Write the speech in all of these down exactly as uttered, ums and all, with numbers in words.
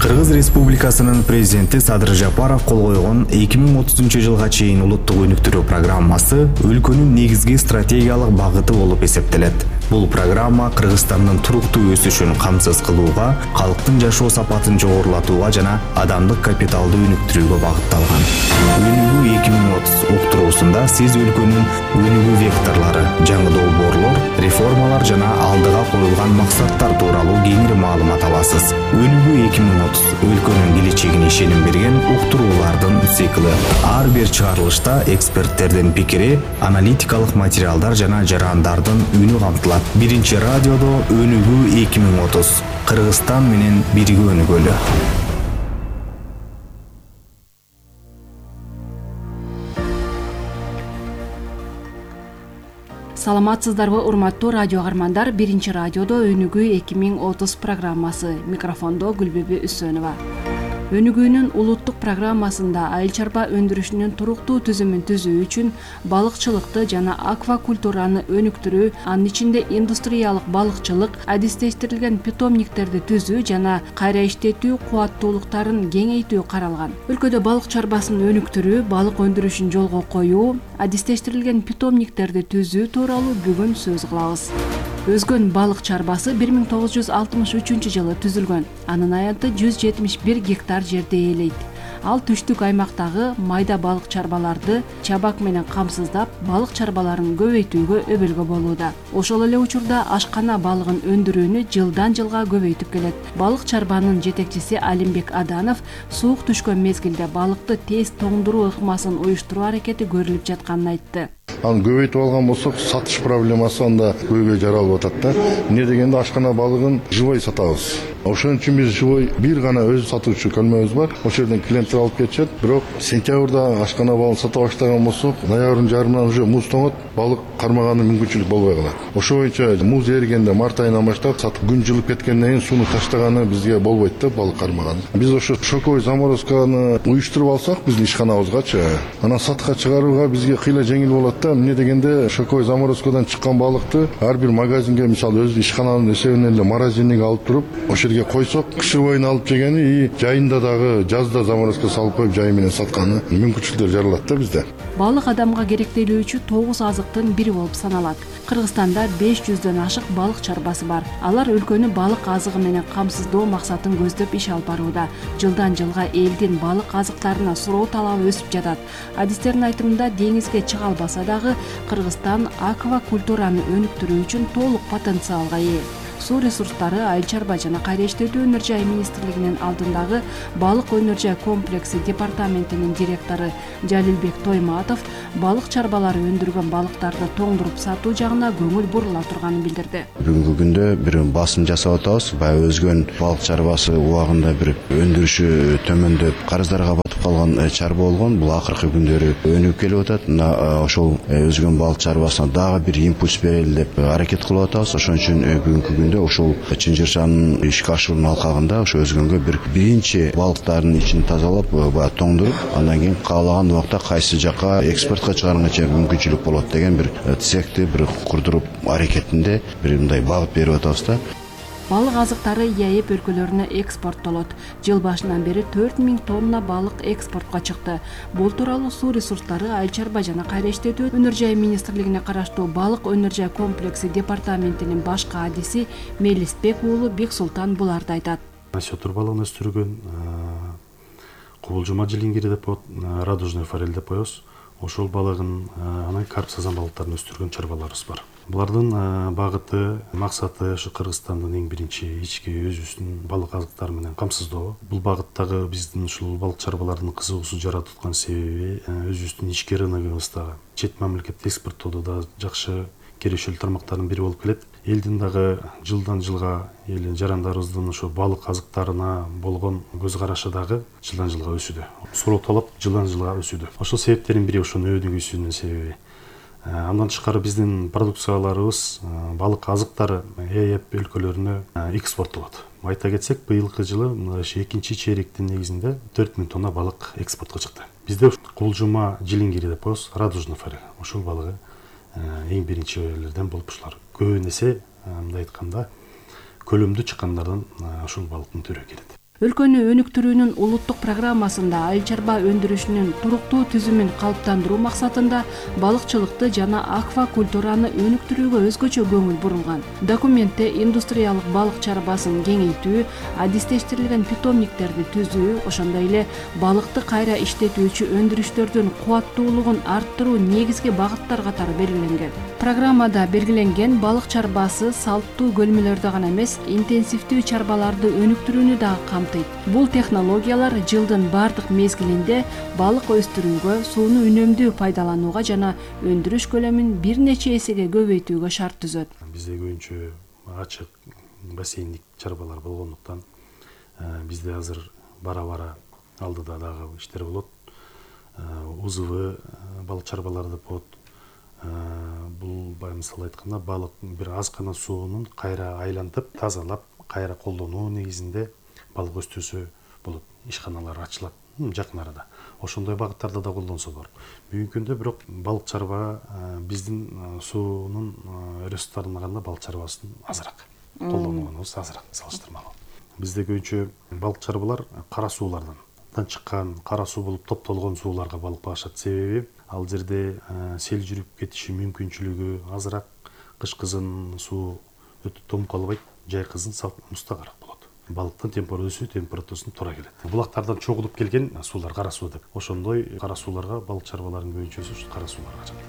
Кыргыз Республикасынын президенти Садыр Жапаров кол койгон эки миң отузунчу жылга чейин улуттук өнүктүрүү программасы өлкөнүн негизги стратегиялык багыты болуп эсептелет. Бул программа Кыргызстандын туруктуу өсүшүн камсыз кылууга, калктын жашоо сапатын жогорулатууга жана адамдык капиталды өнүктүрүүгө багытталган. Өнүгүү эки миң отуз уктуруусунда сиз өлкөнүн өнүгүү векторлору, жаңы долбоорлор, реформалар жана алдыга коюлган максаттар тууралуу кеңири маалымат аласыз. Өнүгүү эки миң отуз өлкөнүн келечегине ишеним берген уктуруулардын циклы. Ар бир чыгарылышта эксперттердин пикири, аналитикалык материалдар жана жарандардын үнү камтылат. Биринчи радиодо Өнүгүү эки миң отуз. Кыргызстан менен бирге өнүгөлү. Саламатсыздарбы, урматтуу радио каармандар. Биринчи радиодо Өнүгүү эки миң отуз программасы. Микрофондо Гүлбүбү Үсөнова. Өнүгүүнүн улуттук программасында айыл чарба өндүрүшүнүн туруктуу түзүмүн түзүү үчүн балыкчылыкты жана аквакультураны өнүктүрүү, анын ичинде индустриялык балыкчылык, адистештирилген питомниктерди түзүү жана кайра иштетүү кубаттуулуктарын кеңейтүү каралган. Өлкөдө балык чарбасын өнүктүрүү, балык өндүрүшүн жолго коюу, адистештирилген питомниктерди түзүү тууралуу бүгүн сөз кылабыз. Өзгөн балык чарбасы бир миң тогуз жүз алтымыш үчүнчү жылы түзүлгөн. Анын аянты жүз жетимиш бир гектар жерди ээлейт. Ал түштүк аймактагы майда балык чарбаларды чабак менен камсыздап, балык чарбаларын көбөйтүүгө өбөлгө болууда. Ошол эле учурда ашкана балыгын өндүрүүнү жылдан жылга көбөйтүп келет. Балык чарбанын жетекчиси Алимбек Аданов суук түшкөн мезгилде балыкты тез тоңдуруу ыкмасын уюштуруу аракети көрүлүп жатканын айтты. Аны көбөйтүп алган болсок, сатыш проблемасы анда көйгөй жаралып атат да. Эмне дегенде ашкана балыгын живой сатабыз. Ошон үчүн биз живой бир гана өз сатуучу көлмөбүз бар. Ошол жерден клиенттер алып кетишет. Бирок сентябрда ашкана балыгын сата баштаган болсок, ноябрдын жарымынан уже муз тоңот, балык кармаганы мүмкүнчүлүк болбой калат. Ошол боюнча муз эригенде март айынан баштап сатып күн жылып кеткенден кийин сууну таштаганы бизге болбойт да, балык кармаганы. Биз ошо шоковой заморозканы уюштуруп алсак биздин ишканабызгачы, анан сатка чыгарууга бизге кыйла жеңил болот да. Эмне дегенде шоковой заморозкадан чыккан балыкты ар бир магазинге, мисалы өз ишкананын эсебинен эле морозильникке алып туруп, ошол жерге койсок, кышы боюна алып жегени и жайында дагы жазда заморозка салып коюп жай менен сатканы мүмкүнчүлүктөр жаралат да бизде. Балык адамга керектелүүчү тогуз азыктын бири болуп саналат. Кыргызстанда беш жүздөн ашык балык чарбасы бар. Алар өлкөнү балык азыгы менен камсыздоо максатын көздөп иш алып барууда. Жылдан жылга элдин балык азыктарына суроо талабы өсүп жатат. Адистердин айтымында деңизге чыга албаса дагы Кыргызстан аквакультураны өнүктүрүү үчүн толук потенциалга ээ. Суу ресурстары, айыл чарба жана кайра иштетүү өнөр жай министрлигинин алдындагы балык өнөр жай комплекси департаментинин директору Жалилбек Тойматов балык чарбалары өндүргөн балыктарды тоңдуруп сатуу жагына көңүл бурула турганын билдирди. Бүгүнкү күндө бир басым жасап атабыз. Баягы өзгөн балык чарбасы убагында бир өндүрүшү төмөндөп, карыздарга батып калган чарба болгон. Бул акыркы күндөрү өнүгүп келип атат. Мына ошол өзгөн балык чарбасына дагы бир импульс берели деп аракет кылып атабыз. Ошон үчүн бүгүнкү күндө ошол Чынжырчанын ишке ашуунун алкагында ошо өзгөнгө бир биринчи балыктардын ичин тазалап, баягы тоңдуруп, андан кийин каалаган убакта кайсы жакка экспортко чыгарганга мүмкүнчүлүк болот деген бир цехти бир курдуруп аракетинде бир мындай багыт берип атабыз да. Балык азыктары ЕАЭП өлкөлөрүнө экспорттолот. Жыл башынан бери төрт миң тонна балык экспортко чыкты. Бул тууралуу Суу ресурстары, айыл чарба жана кайра иштетүү өнөр жай министрлигине караштуу балык өнөр жай комплекси департаментинин башкы адиси Мелисбек уулу Бексултан буларды айтат. Сетур балыгын өстүргөн, кубулжума жилингири деп коет, радужный форель деп коебуз. Ошол балыгын, анан карп сазан балыктарын өстүргөн чарбаларыбыз бар. Булардын багыты, максаты ушу Кыргызстандын эң биринчи ички өзүбүздүн балык азыктары менен камсыздоо. Бул багыттагы биздин ушул балык чарбаларынын кызыгуусун жаратып аткан себеби өзүбүздүн ички рыногубузда чет мамлекетке экспорттоодо да жакшы керешелүү тармактардын бири болуп келет. Элдин дагы жылдан жылга эл жарандарыбыздын ошо балык азыктарына болгон көз карашы дагы жылдан жылга өсүүдө. Суроо талап жылдан жылга өсүүдө. Ошол себептердин бири ошонун өнүгүүсүнүн себеби. Андан тышкары биздин продукцияларыбыз, балык азыктары ЕАЭП өлкөлөрүнө экспорттолот. Айта кетсек, быйылкы жылы экинчи чейректин негизинде төрт миң тонна балык экспортко чыкты. Бизде кулжума жилингири деп коебуз, радужный форель. Ошол балыгы эң биринчилерден болуп ушулар. Көбүн эсе, мындай айтканда, көлөмдүү чыккандардан ушул балыктын түрү келет. Өлкөнү өнүктүрүүнүн улуттук программасында айыл чарба өндүрүшүнүн туруктуу түзүмүн калыптандыруу максатында балыкчылыкты жана аквакультураны өнүктүрүүгө өзгөчө көңүл бурулган. Документте индустриялык балык чарбасын кеңейтүү, адистештирилген питомниктерди түзүү, ошондой эле балыкты кайра иштетүүчү өндүрүштөрдүн кубаттуулугун арттыруу негизги багыттар катары белгиленген. Программада белгиленген балык чарбасы салттуу көлмөлөрдө гана эмес, интенсивдүү чарбаларды өнүктүрүүнү дагы камтыйт. Бул технологиялар жылдын бардык мезгилинде балык өстүрүүгө, сууну үнөмдүү пайдаланууга жана өндүрүш көлөмүн бир нече эсеге көбөйтүүгө шарт түзөт. Бизде көбүнчө ачык бассейндик чарбалар болгондуктан бизде азыр бара-бара алдыда дагы иштер болот. УЗВ балык чарбаларды болот. Бул мисалы айтканда балык бир аз гана суунун кайра айлантып, тазалап, кайра колдонуу негизинде балык өстүрсө болот. Ишканалар ачылат жакын арада. Ошондой багыттарда да колдонсо болот. Бүгүнкү күндө бирок балык чарба биздин суунун ресурстарына караганда балык чарбасын азыраак. Колдонуубуз азыраак салыштырмалуу. Бизде көбүнчө балык чарбалар кара суулардан чыккан, кара суу болуп топтолгон сууларга балык багышат. Себеби ал жерде сел жүрүп кетиши мүмкүнчүлүгү азыраак, кыш кызын суу өтө тоңуп калбайт, жай кызын мустагараак болот. Балыктын температурасы температурасына туура келет. Булактардан чогулуп келген суулар кара суу деп. Ошондой кара сууларга балык чарбаларынын көбүнчөсү кара сууларга жатат.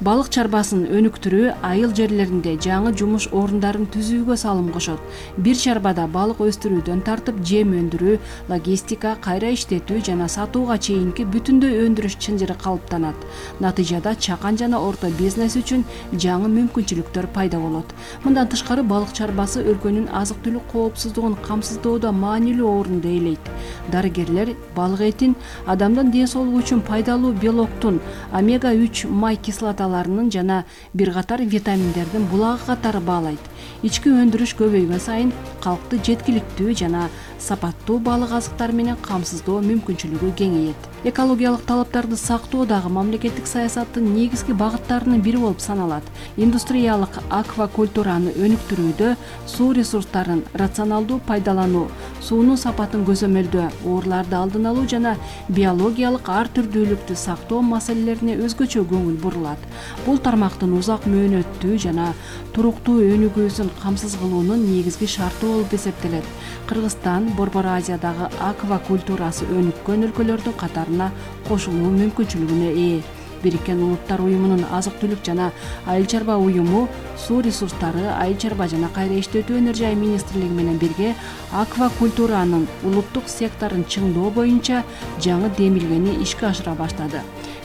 Балык чарбасын өнүктүрүү айыл жерлеринде жаңы жумуш орундарын түзүүгө салым кошот. Бир чарбада балык өстүрүүдөн тартып жем өндүрүү, логистика, кайра иштетүү жана сатууга чейинки бүтүндөй өндүрүш чынжыры калыптанат. Натыйжада чакан жана орто бизнес үчүн жаңы мүмкүнчүлүктөр пайда болот. Мындан тышкары балык чарбасы өлкөнүн азык-түлүк коопсуздугун камсыздоодо маанилүү орунду ээлейт. Дарыгерлер балык этин адамдын ден соолугу үчүн пайдалуу белоктун, омега үч май кислота жана бир катар витаминдердин булагы катары баалайт. Ички өндүрүш көбөйгөн сайын калкты жеткиликтүү жана сапаттуу балык азыктары менен камсыздоо мүмкүнчүлүгү кеңейет. Экологиялык талаптарды сактоо дагы мамлекеттик саясаттын негизги багыттарынын бири болуп саналат. Индустриялык аквакультураны өнүктүрүүдө суу ресурстарын рационалдуу пайдалануу, суунун сапатын көзөмөлдөө, ооруларды алдын алуу жана биологиялык ар түрдүүлүктү сактоо маселелерине өзгөчө көңүл бурулат. Бул тармактын узак мөөнөттүү жана туруктуу өнүгүүсүн камсыз кылуунун негизги шарты болуп эсептелет. Кыргызстан Борбор Азиядагы аквакультурасы өнүккөн өлкөлөрдүн катарына кошулуу мүмкүнчүлүгүнө ээ. Бириккен Улуттар уюмунун азык-түлүк жана айыл чарба уюму суу ресурстары, айыл чарба жана кайра иштетүү өнөр жай министрлиги менен бирге аквакультуранын улуттук секторун чыңдоо боюнча жаңы демилгени ишке ашыра баштады.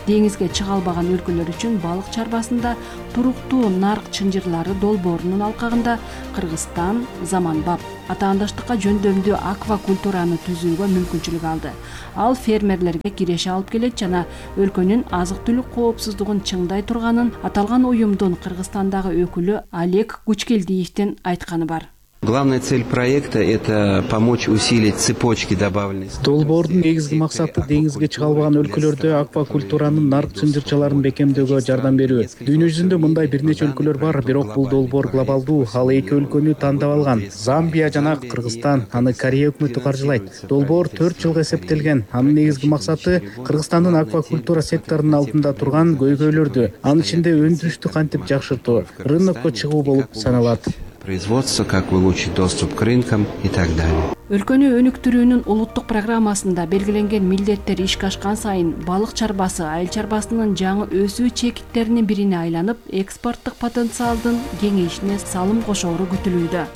Деңизге чыга албаган өлкөлөр үчүн балык чарбасында туруктуу нарк чынжырлары долбоорунун алкагында Кыргызстан заманбап атаандаштыкка жөндөмдүү аквакультураны түзүүгө мүмкүнчүлүк алды. Ал фермерлерге киреше алып келет жана өлкөнүн азык-түлүк коопсуздугун чыңдай турганын аталган уюмдун Кыргызстандагы өкүлү Олег Кучкелдиевдин айтканы бар. Главная цель проекта – это помочь усилить цепочки добавленности. Долбоордун негизги максаты деңизге чыга албаган өлкөлөрдө аквакультуранын нарк чынжырчаларын бекемдөөгө жардам берүү. Дүйнө жүзүндө мындай бир нече өлкөлөр бар, бирок бул долбоор глобалдуу. Ал эки өлкөнү тандап алган. Замбия жана Кыргызстан, аны Корея өкмөтү каржылайт. Долбоор төрт жылга эсептелген. Анын негизги максаты Кыргызстандын аквакультура секторунун алдында турган көйгөйлөрдү, анын ичинде өндүрүштү кантип жакшыртуу, рынокко чыгуу болуп саналат. Производство, как улучшить доступ к рынкам и так далее. Өлкөнү өнүктүрүүнүн улуттук программасында белгиленген милдеттер ишке ашкан сайын балык чарбасы айыл чарбасынын жаңы өсүү чекиттеринин бирине айланып, экспорттук потенциалдын кеңейишине салым кошоору күтүлүүдө.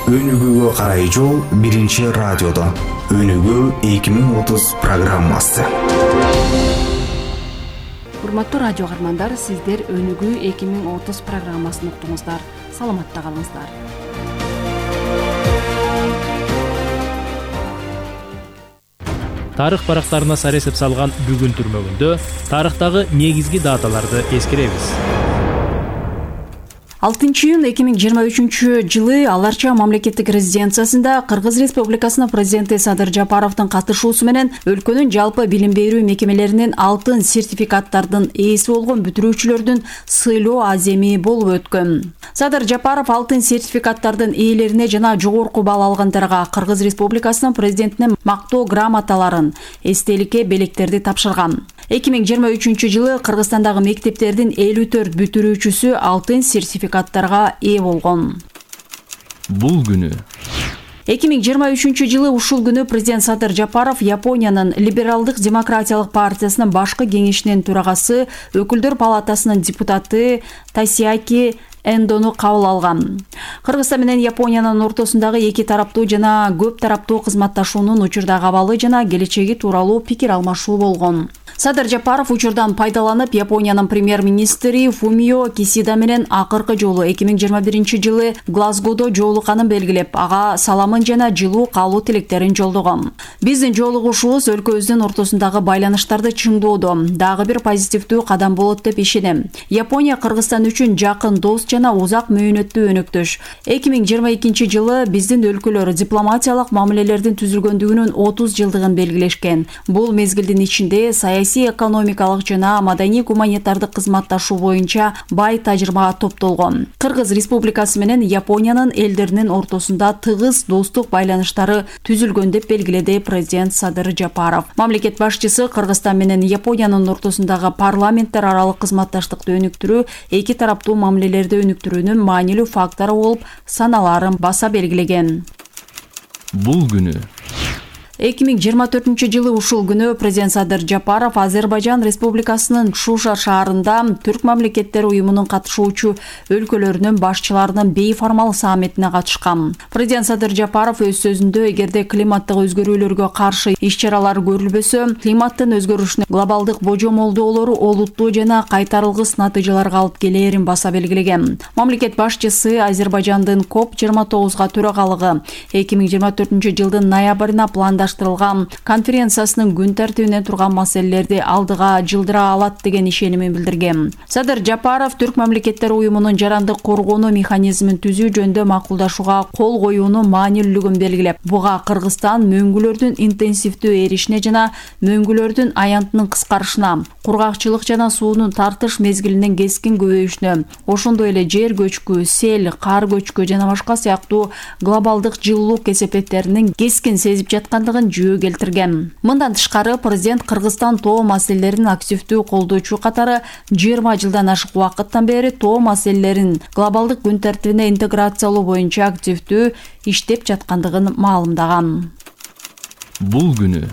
Өнүгүүгө карай жол биринчи радиодо. Өнүгүү эки миң отуз программасы. Урматтуу радио каармандар, сиздер Өнүгүү эки миң отуз программасын уктуңуздар. Саламатта калыңыздар. Тарых барактарына сар эсеп салган бүгүн түрмөгүндө тарыхтагы негизги даталарды эскеребиз. алтынчы июнь эки миң жыйырма үчүнчү жылы Аларча мамлекеттик резиденциясында Кыргыз Республикасынын президенти Садыр Жапаровдун катышуусу менен өлкөнүн жалпы билим берүү мекемелеринин алтын сертификаттардын ээси болгон бүтүрүүчүлөрдүн сыйлоо аземи болуп өткөн. Садыр Жапаров алтын сертификаттардын ээлерине жана жогорку балл алгандарга Кыргыз Республикасынын президентинин мактоо грамоталарын, эстеликке белектерди тапшырган. эки миң жыйырма үчүнчү жылы Кыргызстандагы мектептердин элүү төрт бүтүрүүчүсү алтын сертификаттарга ээ болгон. Бул күнү эки миң жыйырма үчүнчү жылы ушул күнү президент Садыр Жапаров Япониянын Либералдык демократиялык партиясынын башкы кеңешинин төрагасы, өкүлдөр палатасынын депутаты Тасиаки Эндону кабыл алган. Кыргызстан менен Япониянын ортосундагы эки тараптуу жана көп тараптуу кызматташуунун учурдагы абалы жана келечеги тууралуу пикир алмашуу болгон. Садыр Жапаров учурдан пайдаланып, Япониянын премьер-министри Фумио Кисида менен акыркы жолу эки миң жыйырма биринчи жылы Глазгодо жолукканын белгилеп, ага саламын жана жылуу каалоо тилектерин жолдогон. Биздин жолугушуубуз өлкөбүздүн ортосундагы байланыштарды чыңдоодо дагы бир позитивдүү кадам болот деп ишенем. Япония Кыргызстан үчүн жакын дос жана узак мөөнөттүү өнөктөш. эки миң жыйырма экинчи жылы биздин өлкөлөр дипломатиялык мамилелердин түзүлгөндүгүнүн отуз жылдыгын белгилешкен. Бул мезгилдин ичинде саясий, экономикалык жана маданий гуманитардык кызматташуу боюнча бай тажрыйба топтолгон. Кыргыз Республикасы менен Япониянын элдеринин ортосунда тыгыз достук байланыштары түзүлгөн деп белгиледи президент Садыр Жапаров. Мамлекет башчысы Кыргызстан менен Япониянын ортосундагы парламенттер аралык кызматташтыкты өнүктүрүү эки тараптуу мамилелерди өнүктүрүүнүн маанилүү фактору болуп саналарын баса белгилеген. Бул күнү эки миң жыйырма төртүнчү жылы ушул күнү президент Садыр Жапаров Азербайжан Республикасынын Шуша шаарында Түрк мамлекеттери уюмунун катышуучу өлкөлөрүнүн башчыларынын бейформал саммитине катышкан. Президент Садыр Жапаров өз сөзүндө эгерде климаттык өзгөрүүлөргө каршы иш-чаралар көрүлбөсө, климаттын өзгөрүшүнүн глобалдык божомолдоолору олуттуу жана кайтарылгыс натыйжаларга алып келээрин баса белгилеген. Мамлекет башчысы Азербайжандын коп жыйырма тогузга төрагалыгы эки миң жыйырма төртүнчү жылдын ноябрына пландаш конференциясынын күн тартибине турган маселелерди алдыга жылдыра алат деген ишенимин билдирген. Садыр Жапаров Түрк мамлекеттери уюмунун жарандык коргонуу механизмин түзүү жөнүндө макулдашууга кол коюунун маанилүүлүгүн белгилеп, буга Кыргызстан мөңгүлөрдүн интенсивдүү эришине жана мөңгүлөрдүн аянтынын кыскарышына, кургакчылык жана суунун тартыш мезгилинин кескин көбөйүшүнө, ошондой эле жер көчкү, сел, кар көчкү жана башка сыяктуу глобалдык жылуулук кесепеттеринин кескин сезип жаткандыгын жөө келтирген. Мындан тышкары президент Кыргызстан тоо маселелерин активдүү колдоочу катары жыйырма жылдан ашык убакыттан бери тоо маселелерин глобалдык күн тартибине интеграциялоо боюнча активдүү иштеп жаткандыгын маалымдаган. Бул күнү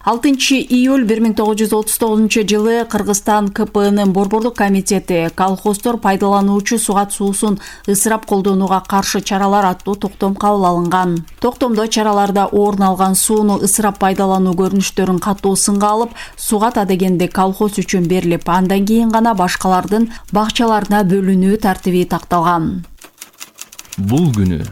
алтынчы июль бир миң тогуз жүз отуз тогузунчу жылы Кыргызстан ка пэ энин борбордук комитети колхоздор пайдалануучу сугат суусун ысырап колдонууга каршы чаралар аттуу токтом кабыл алынган. Токтомдо чараларда орун алган сууну ысырап пайдалануу көрүнүштөрүн катуу сынга алып, сугат адегенде колхоз үчүн берилип, андан кийин гана башкалардын бакчаларына бөлүнүү тартиби такталган. Бул күнү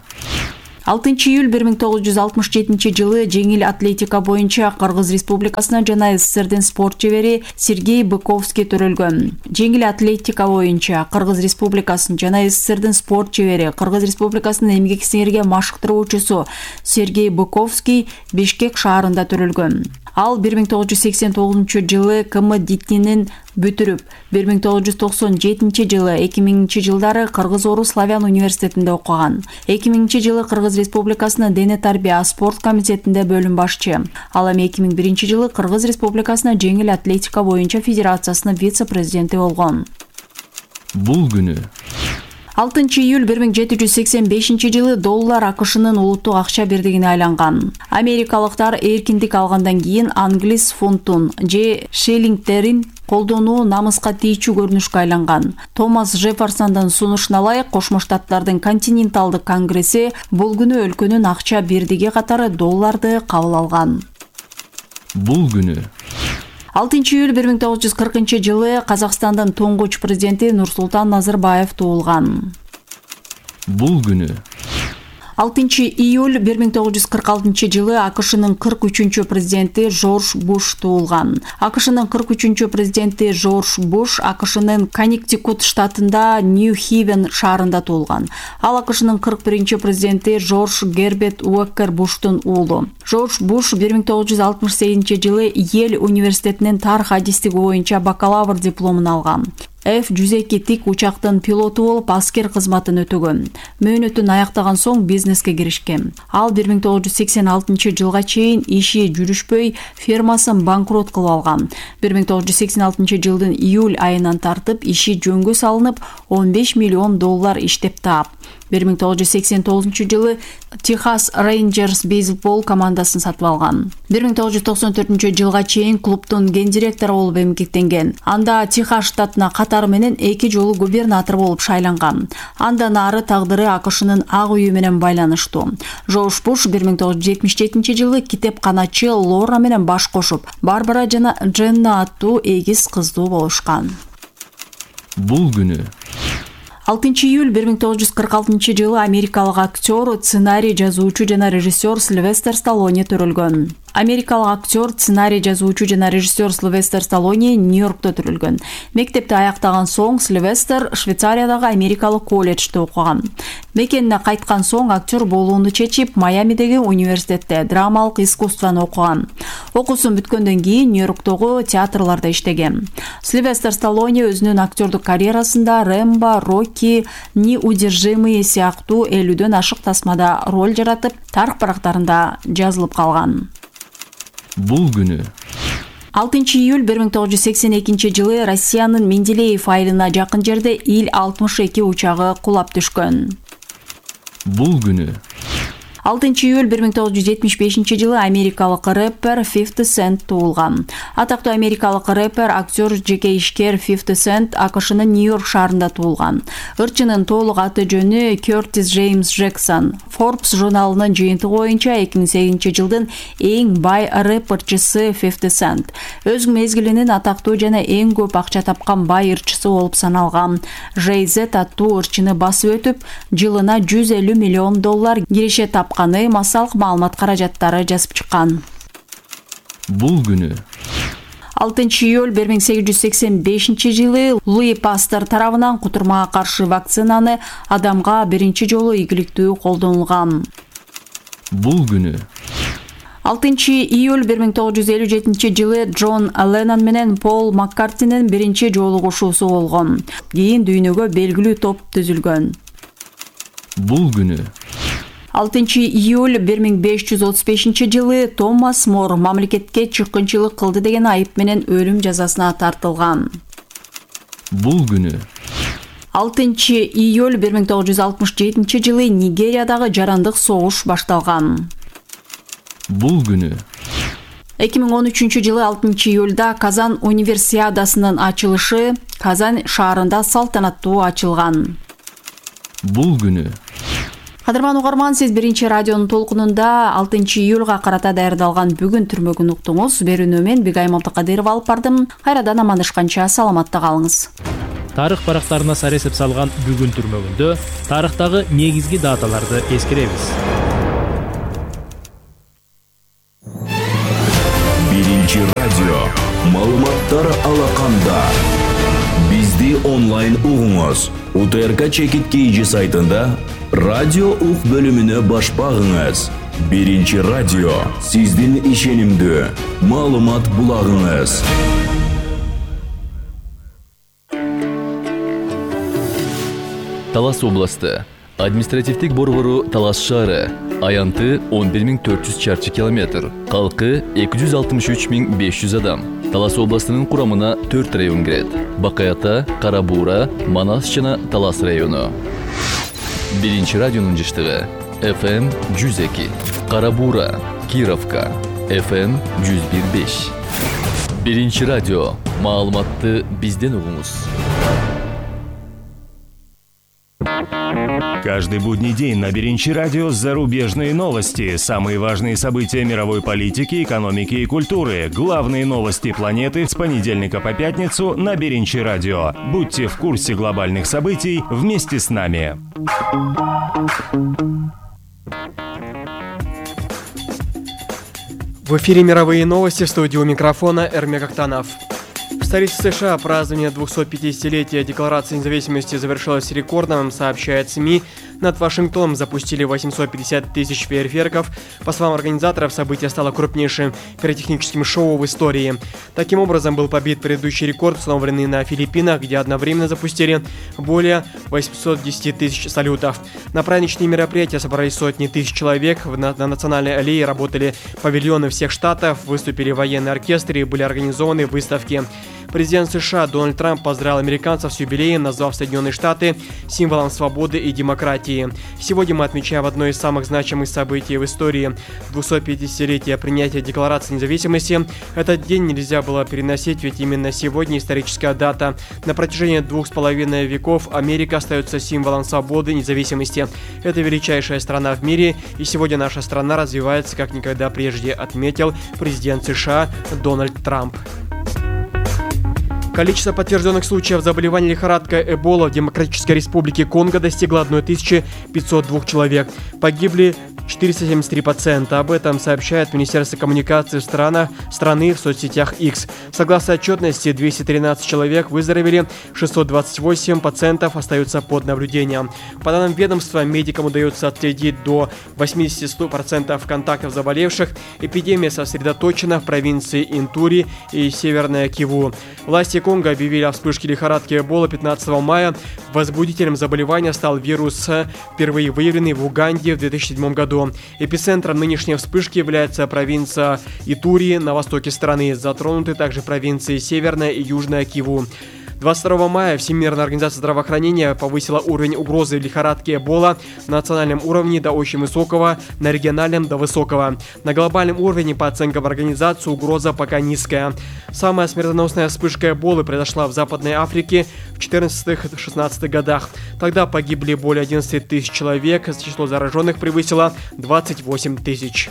алтынчы июль бир миң тогуз жүз алтымыш жетинчи жылы жеңил атлетика боюнча Кыргыз Республикасынын жана СССРдин спорт чебери Сергей Быковский төрөлгөн. Жеңил атлетика боюнча Кыргыз Республикасынын жана СССРдин спорт чебери Кыргыз Республикасынын эмгек сиңирге машыктыруучусу Сергей Быковский Бишкек шаарында төрөлгөн. Ал бир миң тогуз жүз сексен тогузунчу жылы ка эм дитинин бүтүрүп, бир миң тогуз жүз токсон жетинчи жылы эки миңинчи жылдары Кыргыз-Орус славян университетинде окуган. эки миңинчи жылы Кыргыз Республикасынын дене тарбия спорт комитетинде бөлүм башчы. Ал эми эки миң биринчи жылы Кыргыз Республикасынын жеңил атлетика боюнча федерациясынын вице-президенти болгон. Бул күнү алтынчы июль бир миң жети жүз сексен бешинчи жылы доллар АКШнын улуттук акча бирдигине айланган. Америкалыктар эркиндик алгандан кийин англис фунтун же шиллингтерин колдонуу намыска тийчү көрүнүшкө айланган. Томас Жефферсондун сунушуна ылайык Кошмо Штаттардын континенталдык конгресси бул күнү өлкөнүн акча бирдиги катары долларды кабыл алган. Бул күнү алтынчы июль бир миң тогуз жүз кыркынчы жылы Казакстандын туңгуч президенти Нурсултан Назарбаев туулган. Бул күнү алтынчы июль бир миң тогуз жүз кырк алтынчы жылы АКШнын кырк үчүнчү президенти Жорж Буш туулган. АКШнын кырк үчүнчү президенти Жорж Буш АКШнын Коннектикут штатында Нью-Хивен шаарында туулган. Ал АКШнын кырк биринчи президенти Жорж Герберт Уокер Буштун уулу. Жорж Буш бир миң тогуз жүз алтымыш сегизинчи жылы Йель университетинин тарых адистиги боюнча бакалавр дипломун алган. эф жүз эки тик учактын пилоту болуп аскер кызматын өтөгөн. Мөөнөтүн аяктаган соң бизнеске киришкен. Ал бир миң тогуз жүз сексен алтынчы жылга чейин иши жүрүшпөй фермасын банкрот кылып алган. бир миң тогуз жүз сексен алтынчы жылдын июль айынан тартып иши жөнгө салынып он беш миллион доллар иштеп таап. бир миң тогуз жүз сексен тогузунчу жылы Техас Рейнджерс бейсбол командасын сатып алган. бир миң тогуз жүз токсон төртүнчү жылга чейин клубдун гендиректору болуп эмгектенген. Анда Техас штатына катары менен эки жолу губернатор болуп шайланган. Андан ары тагдыры АКШнын ак үйү менен байланыштуу. Жорж Буш бир миң тогуз жүз жетимиш жетинчи жылы китепканачы Лора менен баш кошуп, Барбара жана Дженна аттуу эгиз кыздуу болушкан. Бул күнү алтынчы июль бир миң тогуз жүз кырк алтынчы жылы америкалык актер, сценарий жазуучу жана режиссер Сильвестр Сталлоне төрөлгөн. Америкалык актер, сценарий жазуучу жана режиссер Сильвестр Сталлоне Нью-Йоркто төрөлгөн. Мектепти аяктаган соң Сильвестр Швейцариядагы америкалык колледжде окуган. Мекенине кайткан соң актер болууну чечип, Майамидеги университетте драмалык искусствону окуган. Окуусун бүткөндөн кийин Нью-Йорктогу театрларда иштеген. Сильвестр Сталлоне өзүнүн актердук карьерасында Рэмбо, Рокки, Неудержимые сыяктуу элүүдөн ашык тасмада роль жаратып, тарых барактарында жазылып калган. Бул күнү алтынчы июль бир миң тогуз жүз сексен экинчи жылы Россиянын Менделеев айылына жакын жерде Ил алтымыш эки учагы кулап түшкөн. Бул күнү алтынчы июль бир миң тогуз жүз жетимиш бешинчи жылы америкалык рэпер фифти Cent туулган. Атактуу америкалык рэпер, актер, жеке ишкер фифти Cent АКШнын Нью-Йорк шаарында туулган. Ырчынын толук аты жөнү Кертис Джеймс Джексон. Forbes журналынын жыйынтыгы боюнча эки миң сегизинчи жылдын эң бай рэперчиси фифти Cent. Өз мезгилинин атактуу жана эң көп акча тапкан бай ырчысы болуп саналган. Jay-Z аттуу ырчыны басып өтүп, жылына жүз элүү миллион доллар киреше тапкан. Каны массалык маалымат каражаттары жазып чыккан. Бул күнү алтынчы июль бир миң сегиз жүз сексен бешинчи жылы Луи Пастер тарабынан кутурмага каршы вакцинаны адамга биринчи жолу ийгиликтүү колдонулган. Бул күнү алтынчы июль бир миң тогуз жүз элүү жетинчи жылы Джон Леннон менен Пол Маккартинин биринчи жолугушуусу болгон. Кийин дүйнөгө белгилүү топ түзүлгөн. Бул күнү алтынчы июль бир миң беш жүз отуз бешинчи жылы Томас Мор мамлекетке чыккынчылык кылды деген айып менен өлүм жазасына тартылган. Бул күнү алтынчы июль бир миң тогуз жүз алтымыш жетинчи жылы Нигериядагы жарандык согуш башталган. Бул күнү эки миң он үчүнчү жылы алтынчы июлда Казан универсиадасынын ачылышы Казан шаарында салтанаттуу ачылган. Бул күнү Кадырман угарман, сиз биринчи радионун толкунунда алтынчы июлга карата даярдалган бүгүн түрмөгүн уктуңуз. Берүүнү мен Бигайым Абдыкадырова алып бардым. Кайрадан амандашканча саламатта калыңыз. Тарых барактарына сар эсеп салган бүгүн түрмөгүндө тарыхтагы негизги даталарды эскеребиз. Биринчи радио маалыматтар алаканда. Бизди онлайн угуңуз. УТРК Чекит Кейжи сайтында радио ук бөлүмүнө баш багыңыз. Биринчи радио сиздин ишенимдүү маалымат булагыңыз. Талас областы административдик борбору Талас шаары. Аянты он бир миң төрт жүз чарчы километр. Калкы эки жүз алтымыш үч миң беш жүз адам. Талас областынын курамына төрт район кирет. Бакаята, Карабура, Манас жана Талас району. Биринчи радионун жыштыгы эф эм жүз эки. Карабура, Кировка, эф эм жүз бир беш. Биринчи радио. Маалыматты бизден угуңуз. Каждый будний день на Биринчи радио зарубежные новости, самые важные события мировой политики, экономики и культуры, главные новости планеты с понедельника по пятницу на Биринчи радио. Будьте в курсе глобальных событий вместе с нами. В эфире «Мировые новости», в студии у микрофона Эрмек Актанов. В столице США празднование двухсотпятидесятилетия Декларации независимости завершилось рекордным, сообщает СМИ. Над Вашингтоном запустили восемьсот пятьдесят тысяч фейерверков. По словам организаторов, событие стало крупнейшим пиротехническим шоу в истории. Таким образом, был побит предыдущий рекорд, установленный на Филиппинах, где одновременно запустили более восьмисот десяти тысяч салютов. На праздничные мероприятия собрались сотни тысяч человек. На, на национальной аллее работали павильоны всех штатов, выступили военные оркестры и были организованы выставки. Президент США Дональд Трамп поздравил американцев с юбилеем, назвав Соединенные Штаты символом свободы и демократии. Сегодня мы отмечаем одно из самых значимых событий в истории – двухсотпятидесятилетие принятия Декларации независимости. Этот день нельзя было переносить, ведь именно сегодня историческая дата. На протяжении двух с половиной веков Америка остается символом свободы и независимости. Это величайшая страна в мире, и сегодня наша страна развивается как никогда прежде, отметил президент США Дональд Трамп. Количество подтвержденных случаев заболевания лихорадкой Эбола в Демократической Республике Конго достигло тысяча пятьсот два человек. Погибли четыреста семьдесят три пациента. Об этом сообщает Министерство коммуникации страна, страны в соцсетях X. Согласно отчетности, двести тринадцать человек выздоровели, шестьсот двадцать восемь пациентов остаются под наблюдением. По данным ведомства, медикам удается отследить до восемьдесят процентов контактов заболевших. Эпидемия сосредоточена в провинции Интури и Северная Киву. Власти Конго объявили о вспышке лихорадки Эбола пятнадцатого мая. Возбудителем заболевания стал вирус, впервые выявленный в Уганде в две тысячи седьмом году. Эпицентром нынешней вспышки является провинция Итури на востоке страны. Затронуты также провинции Северная и Южная Киву. двадцать второго мая Всемирная организация здравоохранения повысила уровень угрозы лихорадки Эбола на национальном уровне до очень высокого, на региональном до высокого. На глобальном уровне, по оценкам организации, угроза пока низкая. Самая смертоносная вспышка Эболы произошла в Западной Африке в четырнадцатых-шестнадцатых годах. Тогда погибли более одиннадцати тысяч человек, число зараженных превысило двадцать восемь тысяч.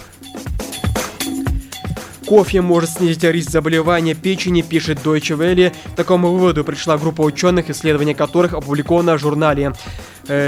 Кофе может снизить риск заболевания печени, пишет Deutsche Welle. К такому выводу пришла группа ученых, исследования которых опубликовано в журнале.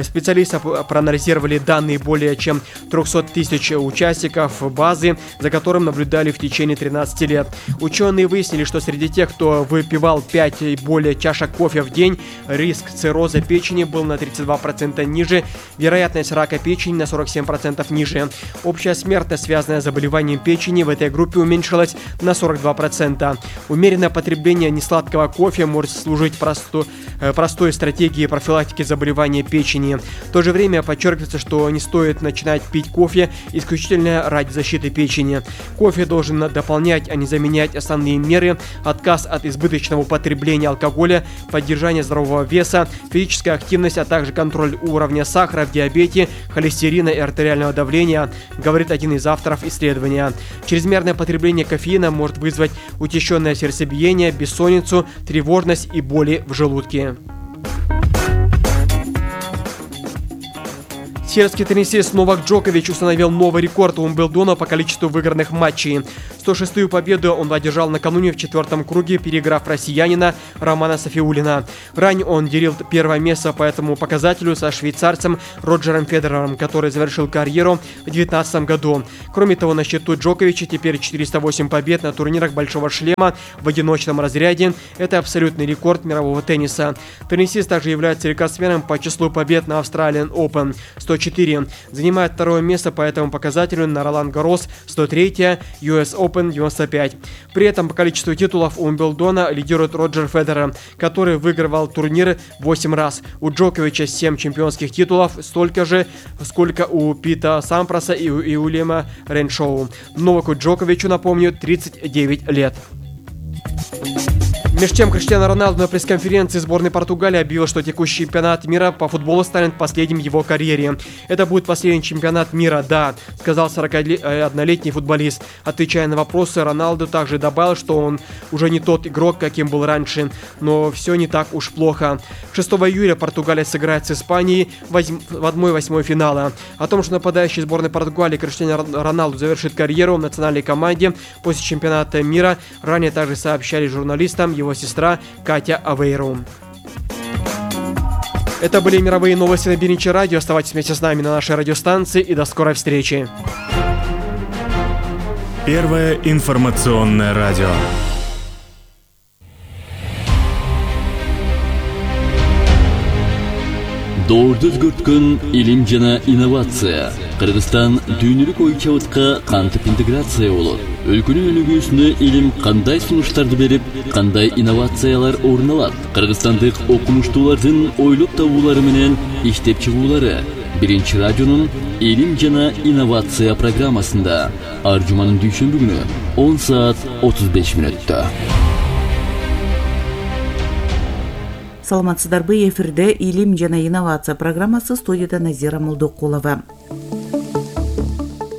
Специалисты проанализировали данные более чем трехсот тысяч участников базы, за которым наблюдали в течение тринадцати лет. Ученые выяснили, что среди тех, кто выпивал пять и более чашек кофе в день, риск цирроза печени был на тридцать два процента ниже, вероятность рака печени на сорок семь процентов ниже. Общая смертность, связанная с заболеванием печени, в этой группе уменьшилась на сорок два процента. Умеренное потребление несладкого кофе может служить просту, простой стратегией профилактики заболевания печени. В то же время подчеркивается, что не стоит начинать пить кофе исключительно ради защиты печени. Кофе должен дополнять, а не заменять основные меры: отказ от избыточного употребления алкоголя, поддержание здорового веса, физическая активность, а также контроль уровня сахара в диабете, холестерина и артериального давления, говорит один из авторов исследования. Чрезмерное потребление кофеина может вызвать учащенное сердцебиение, бессонницу, тревожность и боли в желудке. Сербский теннисист Новак Джокович установил новый рекорд Уимблдона по количеству выигранных матчей. сто шестую победу он одержал накануне в четвертом круге, переиграв россиянина Романа Софиуллина. Ранее он делил первое место по этому показателю со швейцарцем Роджером Федерером, который завершил карьеру в две тысячи девятнадцатом году. Кроме того, на счету Джоковича теперь четыреста восемь побед на турнирах Большого шлема в одиночном разряде. Это абсолютный рекорд мирового тенниса. Теннисист также является рекордсменом по числу побед на Australian Open – сто четыре. Занимает второе место по этому показателю на Ролан Гаррос – сто три, ю эс Open – девяносто пять. При этом по количеству титулов у Уимблдона лидирует Роджер Федерер, который выигрывал турниры восемь раз. У Джоковича семь чемпионских титулов, столько же, сколько у Пита Сампроса и у Уильяма Реншоу. Новаку Джоковичу, напомню, тридцать девять лет. Между тем, Криштиану Роналду на пресс-конференции сборной Португалии объявил, что текущий чемпионат мира по футболу станет последним в его карьере. Это будет последний чемпионат мира, да, сказал сорокаоднолетний футболист. Отвечая на вопросы, Роналду также добавил, что он уже не тот игрок, каким был раньше, но все не так уж плохо. шестого июля Португалия сыграет с Испанией в одной восьмой финала. О том, что нападающий сборной Португалии Криштиану Роналду завершит карьеру в национальной команде после чемпионата мира, ранее также сообщали журналистам его сестра Катя Авейру. Это были мировые новости на Биринчи радио. Оставайтесь вместе с нами на нашей радиостанции и до скорой встречи. Первое информационное радио. Доорду өзгөрткөн илим жана инновация. Кыргызстан дүйнөлүк ой чабытка кантип интеграция болот? Өлкөнүн өнүгүүсүнө илим кандай сунуштарды берип, кандай инновациялар орун алат? Кыргызстандык окумуштуулардын ойлоп табуулары менен иштеп чыгуулары Биринчи радионун илим жана инновация программасында ар жуманын дүйшөмбү күнү он саат отуз беш мүнөттө. Саламатсыздарбы, эфирде илим жана инновация программасы, студияда Назира Молдокулова.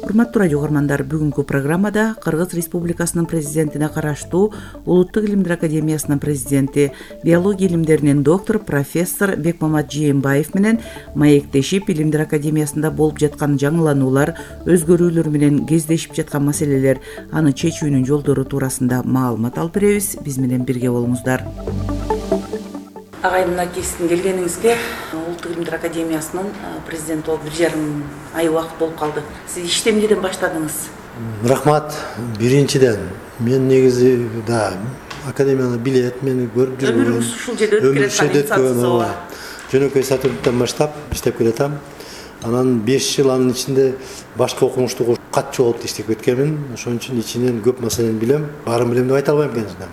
Урматтуу радио угармандар, бүгүнкү программада Кыргыз Республикасынын президентине караштуу Улуттук илимдер академиясынын президенти, биология илимдеринин доктору профессор Бекмамат Жээнбаев менен маектешип илимдер академиясында болуп жаткан жаңылануулар, өзгөрүүлөр менен кездешип жаткан маселелер, аны чечүүнүн жолдору туурасында маалымат алып беребиз. Биз менен бирге болуңуздар. Агайдын акесиздин келгениңизге Улуттук илимдер академиясынын президенти болуп бир жарым ай убакыт болуп калды. Сиз ишти эмнеден баштадыңыз? Рахмат. Биринчиден мен негизи да академияны билет, мени көрүп жүргөн. Өмүрүңүз ушул жерде өтүп келаткан. Жөнөкөй сотрудниктен баштап иштеп келатам. Анан беш жыл анын ичинде башка окумуштуу катчы болуп иштеп кеткенмин. Ошон үчүн ичинен көп маселени билем. Баарын билем деп айта албайм конечно.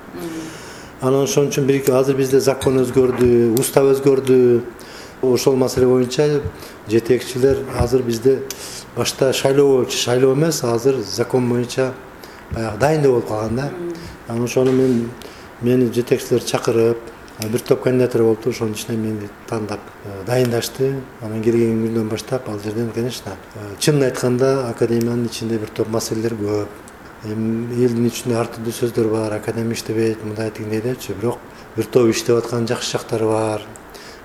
Анан ошон үчүн бир азыр бизде закон өзгөрдү, устав өзгөрдү. Ошол маселе боюнча жетекчилер азыр бизде башта шайлоо шайлоо эмес, азыр закон боюнча баягы дайындоо болуп калган да. Анан ошону мен мени жетекчилер чакырып, бир топ кандидаттар болупту, ошонун ичинен мени тандап дайындашты. Анан келген күндөн баштап ал жерден, конечно, чынын айтканда академиянын ичинде бир топ маселелер көп. Элдин ичинде ар түрдүү сөздөр бар, академия иштебейт, мындай тигиндей депчи, бирок бир топ иштеп аткан жакшы жактары бар.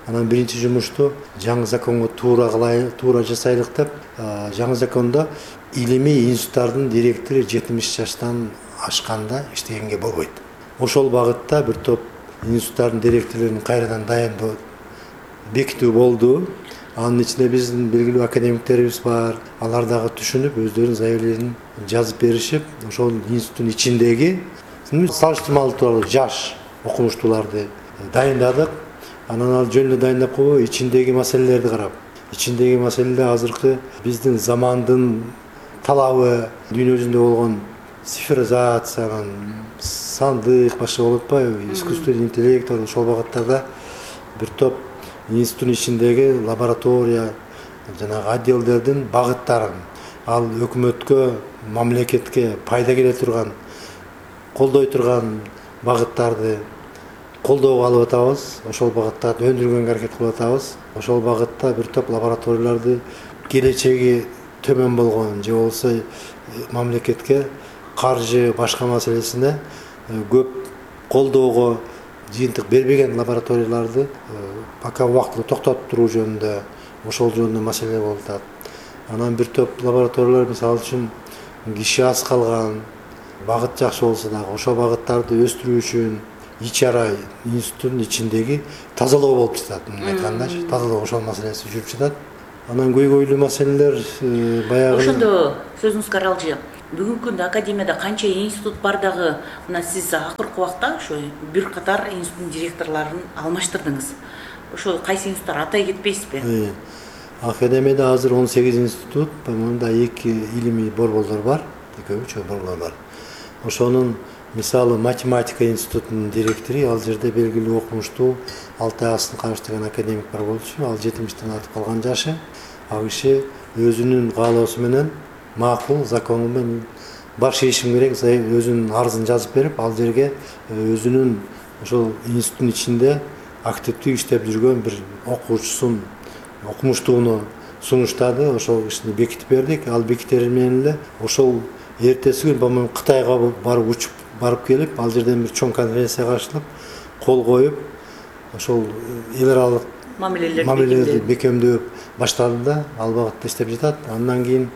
Анан биринчи жумушту жаңы законго туура кылайлы, туура жасайлык деп, жаңы закондо илимий институттардын директору жетимиш жаштан ашканда иштегенге болбойт. Ошол багытта бир топ институттардын директорлорун кайрадан дайындоо бекитүү болду. Анын ичинде биздин белгилүү академиктерибиз бар. Алар дагы түшүнүп, өздөрүнүн заявленияларын жазып беришип, ошол институттун ичиндеги салыштырмалуу тууралуу жаш окумуштууларды дайындадык. Анан ал жөн эле дайындап койбой, ичиндеги маселелерди карап, ичиндеги маселелер азыркы биздин замандын талабы, дүйнө жүзүндө болгон цифризациянын, сандык, башка болуп атпайбы, искусственный интеллект, ошол багыттарда бир топ институттун ичиндеги лаборатория, жанагы отделдердин багыттарын, ал өкмөткө, мамлекетке пайда келе турган, колдой турган багыттарды колдоого алып атабыз. Ошол багыттарды өндүргөнгө аракет кылып атабыз. Ошол багытта бир топ лабораторияларды келечеги төмөн болгон же болбосо мамлекетке каржы башка маселесине көп колдоого жыйынтык бербеген лабораторияларды пока убактылуу токтотуп туруу жөнүндө, ошол жөнүндө маселе болуп атат. Анан бир топ лабораториялар, мисалы үчүн киши аз калган, багыт жакшы болсо дагы ошол багыттарды өстүрүү үчүн ичара институттун ичиндеги тазалоо болуп жатат. Айткандачы, тазалоо ошол маселеси жүрүп жатат. Анан көйгөйлүү маселелер баягы. Ошондо сөзүңүзгө аралжы. Бүгүнкү күндө академияда канча институт бар дагы, мына сиз акыркы убакта ошо бир катар институттун директорлорун алмаштырдыңыз. Ошо кайсы институттар атай кетпейсизби? Академияда азыр он сегиз институт, мында эки илимий борборлор бар, экөө-үч борборлор бар. Ошонун мисалы математика институтунун директору, ал жерде белгилүү окумуштуу Алтай Асын Кабыш деген академик бар болчу, ал жетимиштен артып калган жашы. Ал киши өзүнүн каалоосу менен макул закону менен баш ийишим керек, өзүнүн арызын жазып берип, ал жерге өзүнүн ошол институттун ичинде активдүү иштеп жүргөн бир окуучусун, окумуштууну сунуштады. Ошол кишини бекитип бердик. Ал бекитер менен эле ошол эртеси күн бомон Кытайга барып учуп барып келип, ал жерден бир чоң конференцияга катышып, кол коюп, ошол эл аралык мамилелерди бекемдөп баштады да, ал багытта иштеп жатат. Андан кийин